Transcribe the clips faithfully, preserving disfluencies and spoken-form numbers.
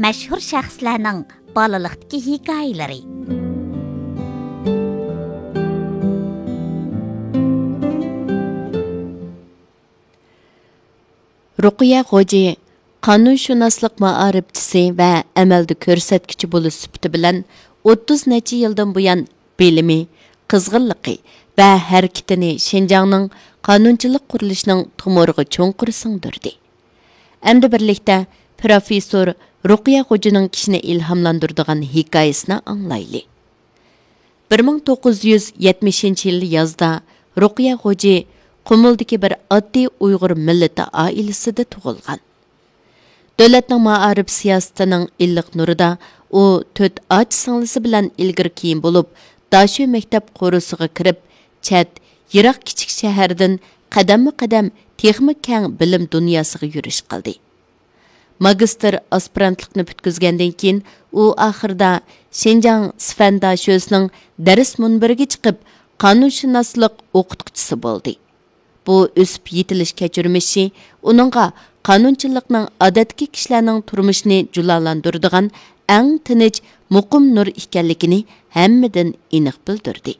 مەشھۇر شەخسلەرنىڭ بالىلىقتىكى ھېكايىلىرى. رۇقىيە خوجا قانۇنشۇناسلىق مائارىپچىسى ۋە ئەمەلدە كۆرسەتكۈچى بولۇش سۈپىتى بىلەن ئوتتۇز نەچچە يىلدىن بۇيان بىلىمى، قىزغىنلىقى ۋە ھەرىكىتىنى شىنجاڭنىڭ قانۇنچىلىق قۇرۇلۇشىنىڭ تومۇرىغا چوڭقۇر سىڭدۈردى. ئەمدى بىرلىكتە پروفېسسور رۇقىيە خوجىنىڭ كىشىنى ئىلھاملاندۇرىدىغان ھېكايىسىنى ئاڭلايلى. بىر مىڭ توققۇز يۈز يەتمىشىنچى يىل يازدا رۇقىيە خوجا قۇمۇلدىكى بىر ئاددىي ئۇيغۇر مىللىتى ئائىلىسىدە تۇغۇلغان. دۆلەتنىڭ مائارىپ سىياسىتىنىڭ ئىللىق نۇرىدا ئۇ تۆت ئاچا سىڭلىسى بىلەن ئىلگىرى كېيىن بولۇپ، داشۆ مەكتەپ قورۇسىغا كىرىپ، چەت، يىراق كىچىك شەھەردىن قەدەممۇ قەدەم تېخىمۇ كەڭ بىلىم دۇنياسىغا يۈرۈش قىلدى. ماگىستىر ئاسپىرانتلىقنى پۈتكۈزگەندىن كېيىن، ئۇ ئاخىرىدا شىنجاڭ سىفەن داشۆسىنىڭ دەرس مۇنبىرىگە چىقىپ، قانۇنشۇناسلىق ئوقۇتقۇچىسى بولدى. بۇ ئۆسۈپ يېتىلىش كەچۈرمىشى ئۇنىڭغا قانۇنچىلىقنىڭ ئادەتتىكى كىشىلەرنىڭ تۇرمۇشىنى جۇلالاندۇرىدىغان ئەڭ تىنچ، مۇقىم نۇر ئىكەنلىكىنى ھەممىدىن ئېنىق بىلدۈردى.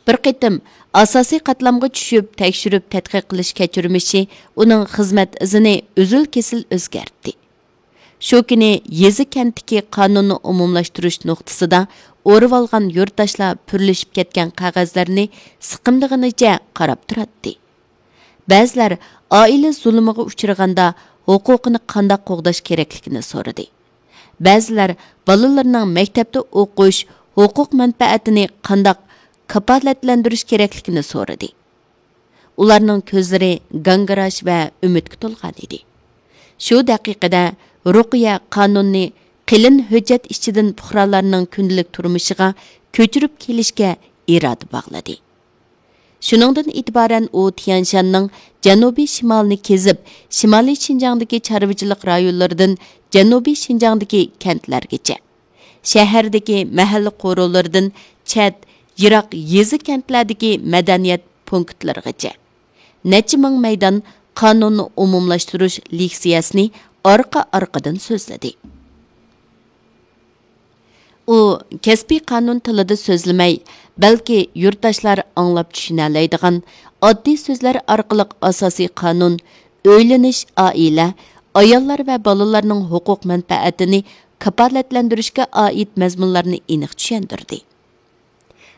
بىر قېتىم ئاساسىي قاتلامغا چۈشۈپ، تەكشۈرۈپ تەتقىق قىلىش كەچۈرمىشى ئۇنىڭ خىزمەت ئىزىنى ئۈزۈل-كېسىل ئۆزگەرتتى. شۇ كۈنى يېزا-كەنتتىكى قانۇننى ئومۇملاشتۇرۇش نۇقتىسىدا ئورىۋالغان يۇرتداشلار پۈرلىشىپ كەتكەن قەغەزلەرنى سىقىمدىغىنىچە قاراپ تۇراتتى. بەزىلەر ئائىلە زۇلۇمىغا ئۇچرىغاندا ھوقۇقىنى قانداق قوغداش كېرەكلىكىنى سورىدى. بەزىلەر بالىلىرىنىڭ مەكتەپتە ئوقۇش ھوقۇق مەنپەئەتىنى قانداق كاپالەتلەندۈرۈش كېرەكلىكىنى سورىدى. ئۇلارنىڭ كۆزلىرى گاڭگىراش ۋە ئۈمىدكە تولغان ئىدى. شۇ دەقىقىدە رۇقىيە قانۇننى قېلىن ھۆججەت ئىچىدىن پۇقرالارنىڭ كۈندىلىك تۇرمۇشىغا كۆچۈرۈپ كېلىشكە ئىرادە باغلىدى. شۇنىڭدىن ئېتىبارەن ئۇ تيەنشاننىڭ جەنۇبىي شىمالىنى كېزىپ، شىمالىي شىنجاڭدىكى چارۋىچىلىق رايونلىرىدىن جەنۇبىي شىنجاڭدىكى كەنتلەرگىچە، شەھەردىكى مەھەللە قورۇلىرىدىن چەت، يىراق يېزا-كەنتلەردىكى مەدەنىيەت پونكىتلىرىغىچە نەچچە مىڭ مەيدان قانۇننى ئومۇملاشتۇرۇش لېكسىيەسىنى ئارقا-ئارقىدىن سۆزلىدى. ئۇ كەسپىي قانۇن تىلىدا سۆزلىمەي، بەلكى يۇرتداشلار ئاڭلاپ چۈشىنەلەيدىغان ئاددىي سۆزلەر ئارقىلىق ئاساسىي قانۇن، ئۆيلىنىش، ئائىلە، ئاياللار ۋە بالىلارنىڭ ھوقۇق مەنپەئەتىنى كاپالەتلەندۈرۈشكە ئائىت مەزمۇنلارنى ئېنىق چۈشەندۈردى.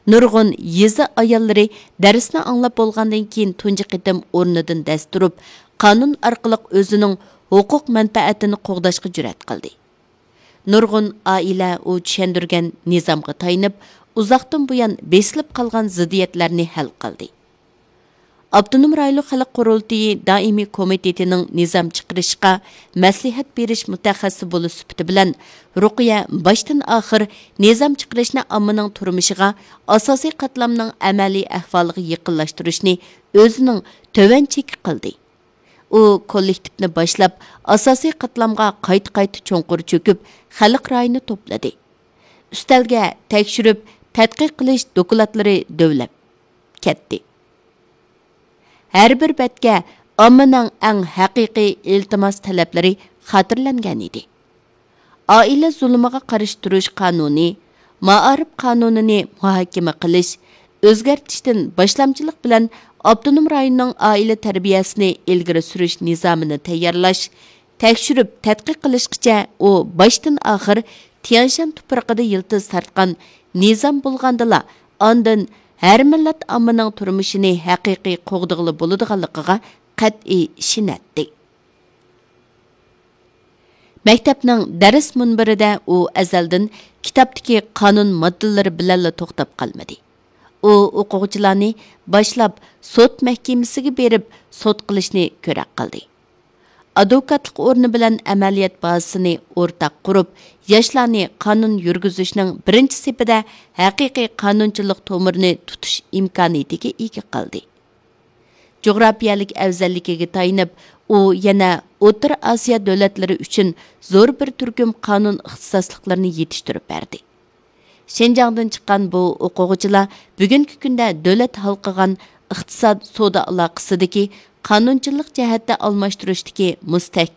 نۇرغۇن يېزا ئاياللىرى دەرسنى ئاڭلاپ بولغاندىن كېيىن تۇنجى قېتىم ئورنىدىن دەس تۇرۇپ، قانۇن ئارقىلىق ئۆزىنىڭ ھوقۇق مەنپەئەتىنى قوغداشقا جۈرئەت قىلدى. نۇرغۇن ئائىلە ئۇ چۈشەندۈرگەن نىزامغا تايىنىپ، ئۇزاقتىن بۇيان بېسىلىپ قالغان زىددىيەتلەرنى ھەل قىلدى. ئاپتونوم رايونلۇق خەلق قۇرۇلتىيى دائىمىي كومىتېتىنىڭ نىزام چىقىرىشقا مەسلىھەت بېرىش مۇتەخەسسىسى بولۇش سۈپىتى بىلەن، رۇقىيە باشتىن ئاخىر نىزام چىقىرىشنى ئاممىنىڭ تۇرمۇشىغا، ئاساسىي قاتلامنىڭ ئەمەلىي ئەھۋالىغا يېقىنلاشتۇرۇشنى ئۆزىنىڭ تۆۋەن چېكى قىلدى. ئۇ كوللېكتىپنى باشلاپ، ئاساسىي قاتلامغا قايتا-قايتا چوڭقۇر چۆكۈپ، خەلق رايىنى توپلىدى. ئۈستەلگە تەكشۈرۈپ تەتقىق قىلىش دوكلاتلىرى دۆۋىلەپ كەتتى. ھەر بىر بەتكە ئاممىنىڭ ئەڭ ھەقىقىي ئىلتىماس تەلەپلىرى خاتىرىلەنگەن ئىدى. ئائىلە زۇلۇمىغا قارشى تۇرۇش قانۇنى، مائارىپ قانۇنىنى مۇھاكىمە قىلىش، ئۆزگەرتىشتىن باشلامچىلىق بىلەن ئاپتونوم رايوننىڭ ئائىلە تەربىيەسىنى ئىلگىرى سۈرۈش نىزامىنى تەييارلاش، تەكشۈرۈپ تەتقىق قىلىشقىچە ئۇ باشتىن ئاخىر تيەنشان تۇپرىقىدا يىلتىز تارتقان نىزام بولغاندىلا، ئاندىن ھەر مىللەت ئاممىنىڭ تۇرمۇشىنى ھەقىقىي قوغدىغىلى بولىدىغانلىقىغا قەتئىي ئىشىنەتتى. مەكتەپنىڭ دەرس مۇنبىرىدە ئۇ ئەزەلدىن كىتابتىكى قانۇن ماددىلىرى بىلەنلا توختاپ قالمىدى. ئۇ ئوقۇغۇچىلارنى باشلاپ سوت مەھكىمىسىگە بېرىپ سوت قىلىشنى كۆرەك قىلدى. ئادۋوكاتلىق ئورنى بىلەن ئەمەلىيەت بازىسىنى ئورتاق قۇرۇپ، ياشلارنى قانۇن يۈرگۈزۈشنىڭ بىرىنچى سېپىدە ھەقىقىي قانۇنچىلىق تومۇرىنى تۇتۇش ئىمكانىيىتىگە ئىگە قىلدى. جۇغراپىيەلىك ئەۋزەللىكىگە تايىنىپ، ئۇ يەنە ئوتتۇرا ئاسىيا دۆلەتلىرى ئۈچۈن زور بىر تۈركۈم قانۇن ئىختىساسلىقلىرىنى يېتىشتۈرۈپ بەردى. شىنجاڭدىن چىققان بۇ ئوقۇغۇچىلار بۈگۈنكى كۈندە دۆلەت ھالقىغان ئىقتىساد، سودا ئالاقىسىدىكى، قانۇنچىلىق جەھەتتە ئالماشتۇرۇشتىكى مۇستەھكەم